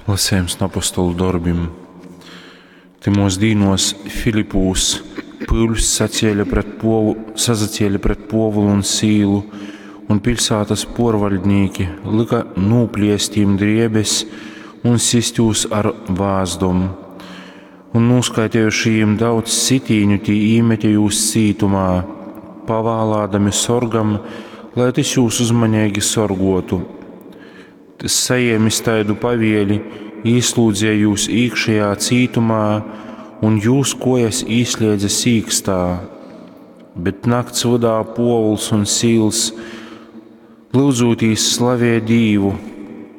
Lasējums no apostolu dorbim. Tymos dīnos Filipūs pyuļs sacēle pret Povu, sasacēle pret Pōvulu un Sīlu, un piļsātas pōrvaļdnīki lyka nūpliest jim driebes un sist jūs ar vāzdom. Un nūskaitejuši jim daudz sitīņu, tī īmete jūs cītumā, pavālādami sorgam, lai tys jūs uzmaneigi sorgotu. Tys sajēmis taidu pavieli, īslūdzeja jūs īkšejā cītumā un jūs kojas īslēdze sīkstā. Bet nakts vydā Pōvuls un Sīls lyudzūtīs slavēja Dīvu,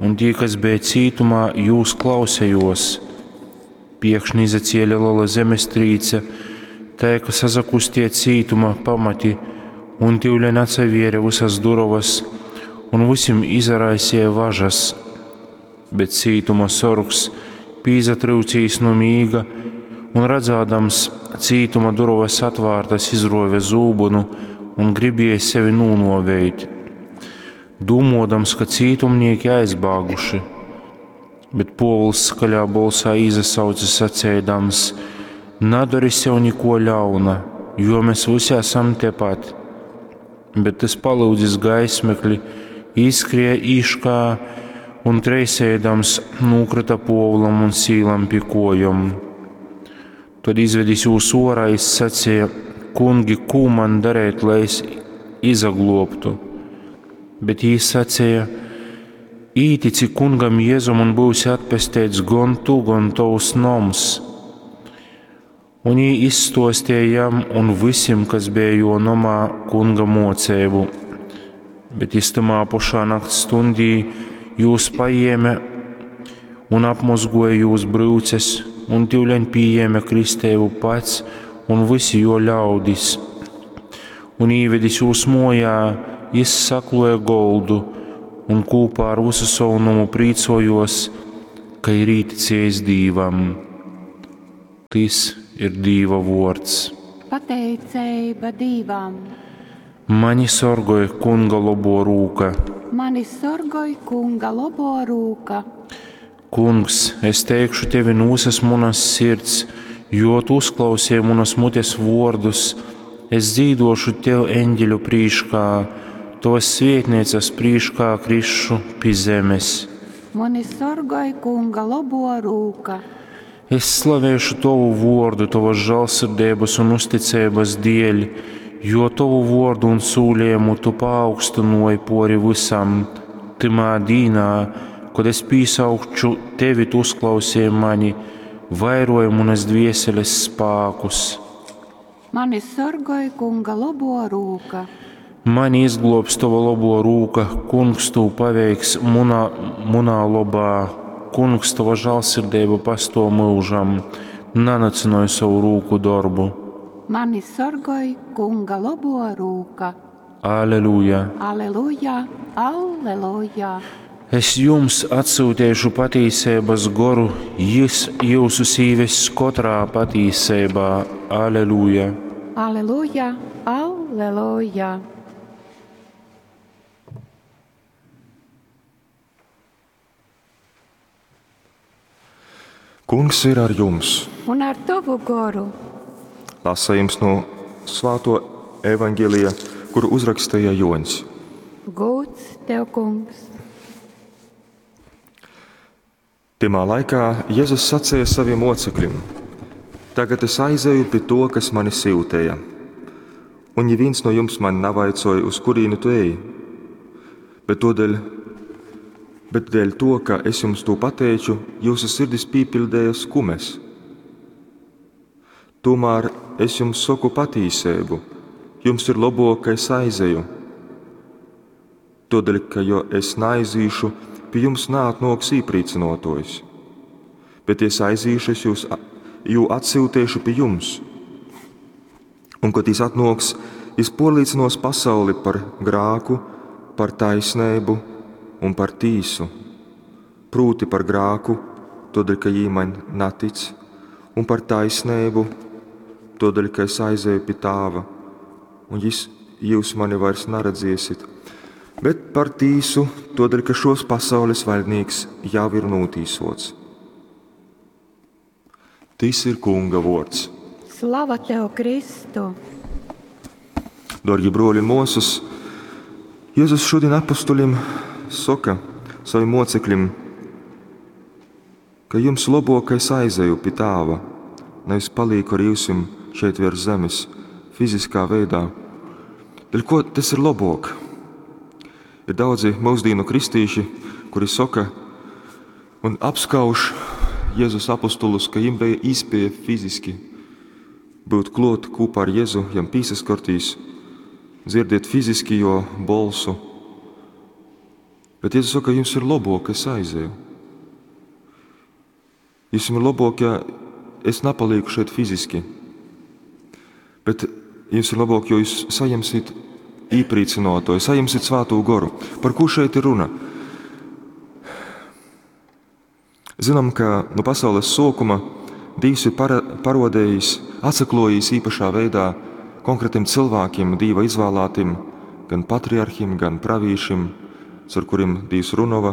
un tī, kas bija cītumā, jūs klausējos. Piekšņi izacēle lela zemestrīce, tai, ka sasakustie cītuma pamati, un tivleņ atsavēre visas durovas, un visim izaraisīja važas. Bet cītuma sorgs pīsatryucīs nu mīga un redzādams cītuma durovas atvārtas, izruove zūbynu un gribēja sevi nūnuovēt, dūmuodams, ka cītumnieki aizbāguši. Bet Pōvuls skaļā bolsā īsasauce saceidams: Nadori sev nikuo ļauna, jo mēs visi esam tepat. Bet tys palyudzis gaismekli, īskrēja īškā un treisēdams nūkrita Pōvulam un Sīlam pi kojom. Tad izvedis jūs orā, jis saceja: Kungi, kū man darēt, lai es izaglobtu? Bet jī saceja: Ītici kungam Jēzum un būsi atpesteits gon tu, gon tovs noms. Un jī izstostīja jam un visim, kas bija jo nomā, kunga moceibu. Bet jis tamā pašā nakts stundī jūs paēma un apmozgoja jūs bryuces, un tivleņ pījēma kristeibu pats un visi jo ļaudis. Un īvedis jūs mojā, jis sakloja goldu un kopā ar visu savu nomu prīcojos, ka ir īticējis Dīvam. Tys ir Dīva vords. Pateiceiba Dīvam. Mani sorgoj Kunga lobo rūka. Mani sorgoj Kunga lobo rūka. Kungs, es teikšu tevi no visas munas sirds, jo tu uzklausīji munas mutes vārdus. Es dzīdošu tev eņģeļu prīškā, tovas svētnīcas prīškā krišu pi zemes. Mani sorgoj Kunga lobo rūka. Es slavēšu tovu vārdu, tavas žēlsirdības un uzticības dēļ, jo tovu vārdu un sūlījumu tu paaugstināji pori visam. Timā dīnā, kad es pīsaukšu tevi, tu uzklausīji mani, vairoji manas dvieseles spākus. Mani sorgoj Kunga lobo rūka. Mani izglobs tava labo rūka, kungs tū paveiks munā, munā lobā. Kungs, tava žēlsirdība pastov mūžam, nanacinoju savu rūku darbu. Mani sorgoj Kunga lobo rūka. Aleluja! Aleluja! Aleluja! Es jums atsūtīšu patīsības goru, jis jūsus īvess katrā patīsībā. Aleluja! Aleluja! Aleluja! Kungs ir ar jums. Un ar tavu goru. Lasījums no Svāto evaņģēlija, kuru uzrakstīja Joņs. Gūts tev, kungs! Tymā laikā Jēzus sacīja saviem mocekļiem: Tagad es aizeju pie to, kas mani syutēja. Un neviens no jums man navaicoja, uz kurieni tu ej. Bet, todēļ, bet dēļ to, ka es jums to pateicu, jūsu sirdis pīpildēja skumes. Tomēr es jums saku patīsību, jums ir labāk, ka es aizeju. Todēļ, ka jo es naizīšu, pie jums neatnoks īprīcinotojs. Bet, ja es aizīšu, es jūs, jū atsūtīšu pie jums. Un, kad jis atnoks, jis porlīcinos pasauli par grāku, par taisnību un par tīsu. Prūti par grāku, todēļ, ka jī man natic, un par taisnību, todēļ, ka es aizēju pie tāva, un jis, jūs mani vairs naredziesit. Bet par tīsu, todēļ, ka šos pasaules vaļdnīks jau ir nūtīsots. Tys ir Kunga vuords. Slava tev, Kristu! Dārgi bruoli un muosys, Jezus šodien apustuļim soka, savim mocekļim, ka jums lobok, ka es aizeju pi Tāva, nevis palīku ar jyusim šeit virs zemes, fiziskā veidā. Dēļ ko tas ir lobok? Ir daudzi mūsdīnu kristīši, kuri soka un apskauž Jēzus apostulus, ka jim bija īspēja fiziski būt klot kopā ar Jēzu, jam pīsaskartīs, dzirdēt fiziski jo bolsu. Bet Jēzus saka, jums ir labāk, ka es aizeju. Jums ir labāk, ja es napalieku šeit fiziski. Bet jums ir labāk, jo jūs saņemsiet īprīcinotoju, saņemsiet svēto goru. Par ko šeit ir runa? Zinām, ka no pasaules sākuma Dievs ir parodējis, atsaklojis īpašā veidā konkrētiem cilvēkiem, Dieva izvēlētiem, gan patriarhim, gan pravīšim, ar kuriem Dievs runova,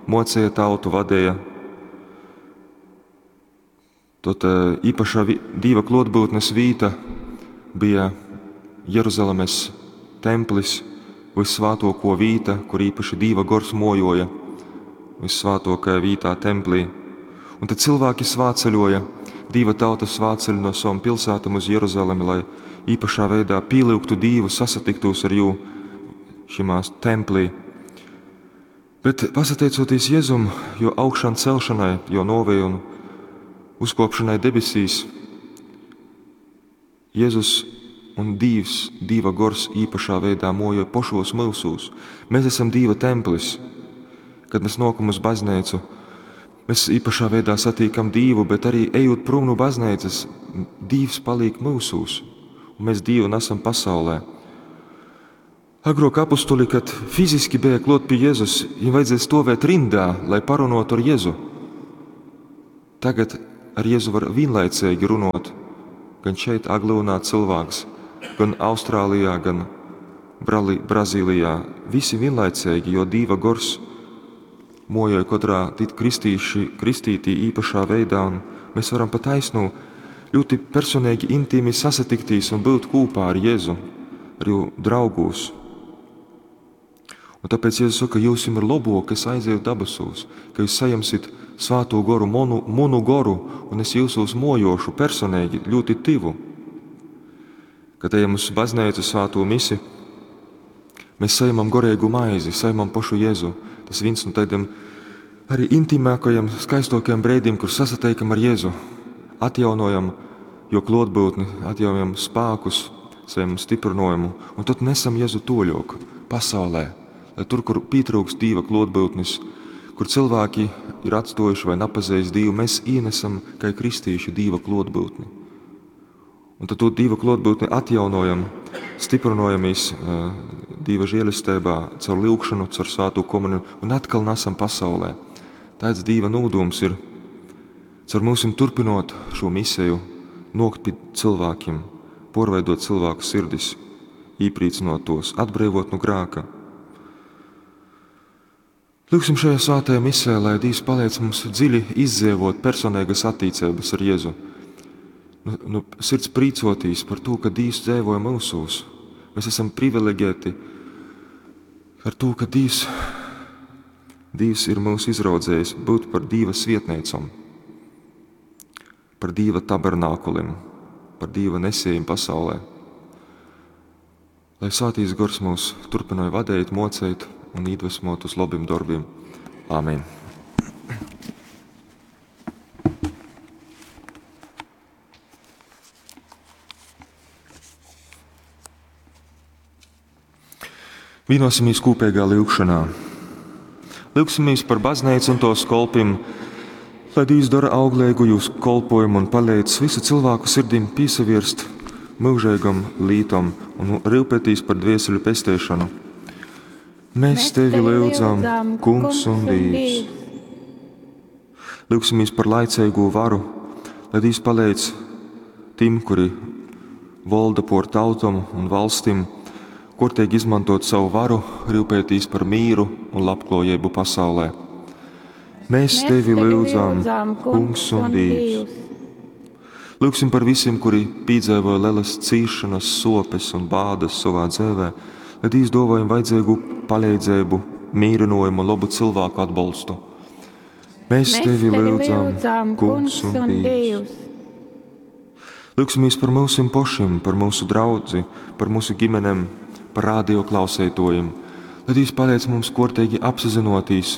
mocīja tautu, vadīja. Tad īpašā Dieva klotbūtnes vīta bija Jeruzalemes templis, vissvētoko vīta, kur īpaši Dieva gors mojoja, vissvētākajā vītā templī. Un tad cilvēki svāceļoja, Dieva tauta svāceļ no savam pilsētam uz Jeruzalemi, lai īpašā veidā pielūgtu Dievu, sasatiktos ar jū šimās templī. Bet pasateicoties Jēzum, jo augšām celšanai, jo novei un uzkopšanai debesīs, Jēzus un Dievs, Dieva gors īpašā veidā mojo pošos mūsūs. Mēs esam Dieva templis. Kad mēs nokam uz baznīcu, mēs īpašā veidā satīkam Dievu, bet arī ejot prom no baznīcas, Dievs paliek mūsūs, un mēs Dievu nesam pasaulē. Agrāk apostoli, kad fiziski bija klot pie Jēzus, viņiem vajadzēja stovēt rindā, lai parunotu ar Jēzu. Tagad ar Jēzu var vienlaicīgi runot, gan šeit Aglūnā cilvēks, gan Austrālijā, gan Brazīlijā. Visi vienlaicīgi, jo Dieva gors mojoja katrā kristīši, kristītī īpašā veidā, un mēs varam pa taisnu ļoti personīgi, intīmi sasatiktīs un būt kopā ar Jēzu, ar jū draugūs. Un tāpēc Jēzus saka, jūs ir labāk, ka es aizēju dabasūs, ka jūs saņemsit svēto goru, monu, manu goru, un es jūsos mojošu personīgi ļoti tivu. Kad ejam uz baznīcu svēto misi, mēs saņemam gorīgu maizi, saņemam pašu Jēzu. Tas viens no tādiem arī intīmākajiem, skaistākajiem brīdiem, kur sasateikam ar Jēzu, atjaunojam jo klotbūtni, atjaunojam spēkus, saņemam stiprinājumu, un tad nesam Jēzu toļok pasaulē, lai tur, kur pietrūks Dieva klotbūtnis, kur cilvēki ir atstojuši vai napazējis Dievu, mēs ienesam, kā kristīši, Dieva klotbūtni. Un tad to Dieva klotbūtni atjaunojam, stiprinojamies Dieva žēlestībā, caur lūgšanu, caur svēto komuniju un atkal nesam pasaulē. Tāds Dieva nūdums ir caur mūsim turpinot šo misiju, nokt pie cilvēkiem, porveidot cilvēku sirdis, īprīcinot tos, atbrīvot no grāka. Lūksim šajā svētajā misē, lai Dievs palīdz mums dziļi izdzievot personīgas attiecības ar Jēzu. Nu, sirds prīcotīs par to, ka Dievs dzēvoja mūsūs. Mēs esam privileģēti ar to, ka Dievs, Dievs ir mūs izraudzējis būt par Dieva svietniecam, par Dieva tabernākulim, par Dieva nesējiem pasaulē. Lai Svētīs gors mūs turpināja vadīt, mocīt un iedvesmot uz labiem darbiem. Āmen! Vienosimies kopīgā lūgšanā. Lūgsimies par baznīcu un tos kolpim, lai Dievs dara auglīgu jūsu kolpojumu un palīdz visu cilvēku sirdīm piesavirst mūžīgam lītam un rūpētīs par dvieseļu pestēšanu. Mēs tevi lūdzam, Kungs un Dievs. Lūgsimies par laicīgo varu, lai Dievs palīdz tiem, kuri valda por tautam un valstim, kortīgi izmantot savu varu, rūpētīs par mīru un labklājību pasaulē. Mēs tevi lūdzam, Kungs un Dievs. Lūgsim par visiem, kuri pīdzeivoja lielas cīšanas, sopes un bādas savā dzīvē, lai Dievs dāvā viņiem vajadzīgu palīdzību, mīrinājumu un labu cilvēku atbalstu. Mēs, Mēs tevi lūdzam, Kungs un Dievs. Lūgsimies Lūgsimies par mūsim pašiem, par mūsu draudzi, par mūsu ģimenēm, par radio klausētojiem. Lai Dievs palīdz mums kortīgi apzināties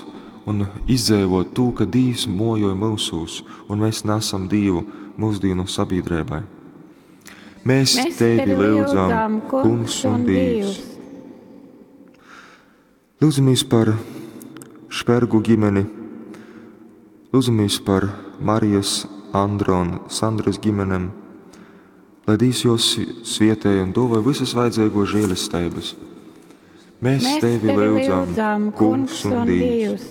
un izdzīvot to, ka Dievs mojoja mūsūs un mēs nesam Dievu mūsdienu sabiedrībai. Mēs, Mēs tevi lūdzam, Kungs un Dievs. Lūdzamies par Špergu ģimeni, lūdzamies par Marijas, Andra un Sandras ģimenēm, lai Dievs jos svietēja un dāvāja visas vajadzīgo žēlestības. Mēs, Mēs tevi lūdzam, Kungs un Dievs.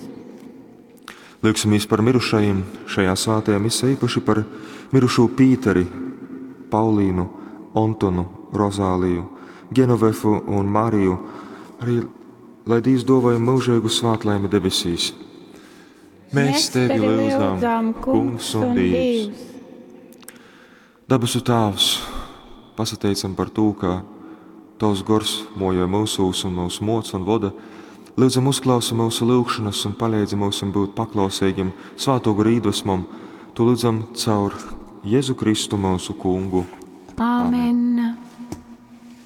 Lūgsimies par mirušajiem šajā svētajā misē, īpaši par mirušo Pīteri, Paulīnu, Antonu, Rozāliju, Genovefu un Mariju, arī lai Dievs dāvāja mūžīgu svētlaimi debesīs. Mēs, tevi lūdzam, Kungs un Dievs. Dabasu Tēvs, pasateicam par to, ka Tavs gors mojo mūsūs un mūs moc un voda. Lūdzam, uzklausi mūsu lūgšanas un palīdzi mums būt paklausīgiem svēto garu iedvesmam. To lūdzam caur Jēzu Kristu mūsu kungu. Āmen.